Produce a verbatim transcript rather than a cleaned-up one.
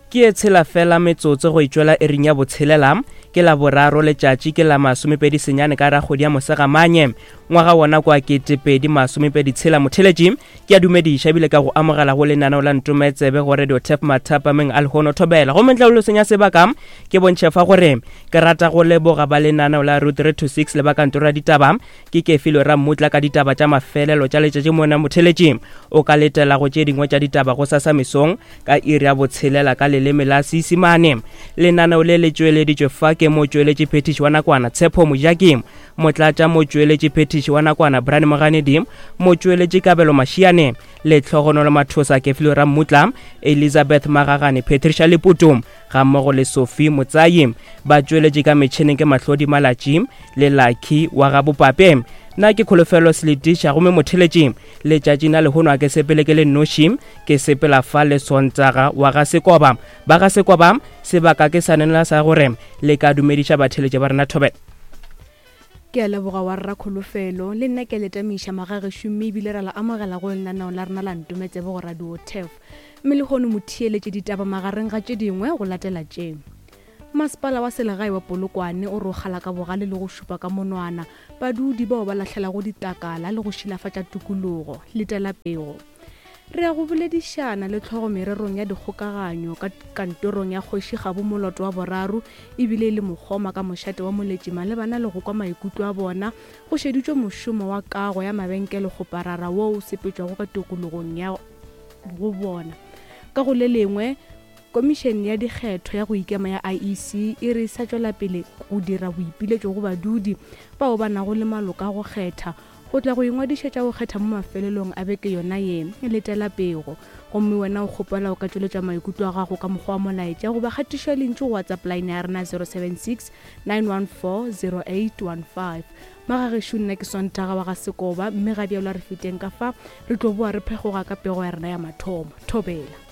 Ke e tshela fela metsotso go itšwela ering ya botshelela, ke la boraro letšatši ke la masomepedi senyane ka rakgwedi ya Mosegamanye ngwaga wona kwa ketepedi masomepedi tshela. Motheletši ke a dumediša ebile ka go amogela go lenaneo la Ntometsebe go Radio Tap mathapameng a lehono thobela. Gomme ntle le senya sebaka ke bontšhe fa gore ke rata go leboga ba lenaneo la Route three to six le ba kantoro ya ditaba ke Kefilo Rammutla ka ditaba tša mafelelo tša letšatši. Mona motheletši o ka letela go tše dingwe tša ditaba go sasa mesong ka iri ya botshelela ka leleme la Seisemane. Lenaneo le le tšweleditšwe fa ke motšweletši phethiši wa nakwana Tshepo Mojaki, motlatša motšweletši phethiši wa nakwana Brian Moganedi, motšweletši Kabelo Mashiane, Lehlogonolo Mathosa, Kefilo Rammutla, Elizabeth Magagane, Patricia Leputu ga mmogo le Sophie Motsayi. Ba tšweletše ka metšhineng ke Mahlodi Malatši le Lucky wa ga Bopape. Nna ke Kholofelo Seletiša, gomme motheletši letšatši na lehono a ke sepele ke le nnoši, ke sepela fa le Sontaga wa ga Sekoba. Ba ga Sekoba sebaka ke sa nela sa gore le ka dumediša batheletši ba rena thobela. Ke a leboga wa rra Kholofelo, le nna ke letamiša magagešo mme ebile ra la amogela go lenaneo la rena la Ntometsebe go Radio Tef. Mme lehono motheeletše ditaba magareng ga tše dingwe go latela tše. Masepala wa selegae wa Polokwane o rogala ka bogale le go šupa ka monwana badudi bao ba lahlelago ditlakala le go šilafatša tikologo. Letela pego. Re ya go boledišana le tlhogo mererong ya dikgokaganyo ka kantorong ya kgoši Kgabo Moloto wa boraro ebile e le mokgoma ka mošate wa Moletši malebana le go kwa maikutlo a bona go šeditšwe mošomo wa kago ya mabenkele kgoparara wo o sepetšwago ka tikologong ya go bona. Ka go le lengwe, Komišene ya dikgetho ya go ikema ya I E C e re sa tšwela pele go dira boipiletšo go badudi bao ba nago le maloka a go kgetha go tla go ingwadišetša go kgetha mo mafelelong a beke yona ye. Letela pego. Gomme wena o kgopela o ka tšweletša maikutlo a gago ka mokgwa wa molaetša goba kgatišo ya lentšu go WhatsApp line ya rena zero seven six nine one four zero eight one five. Magagešo nna ke Sontaga wa ga Sekoba, mme ga bjalo a re feteng ka fa re tlo boa re phegoga ka pego ya rena ya mathomo. Thobela.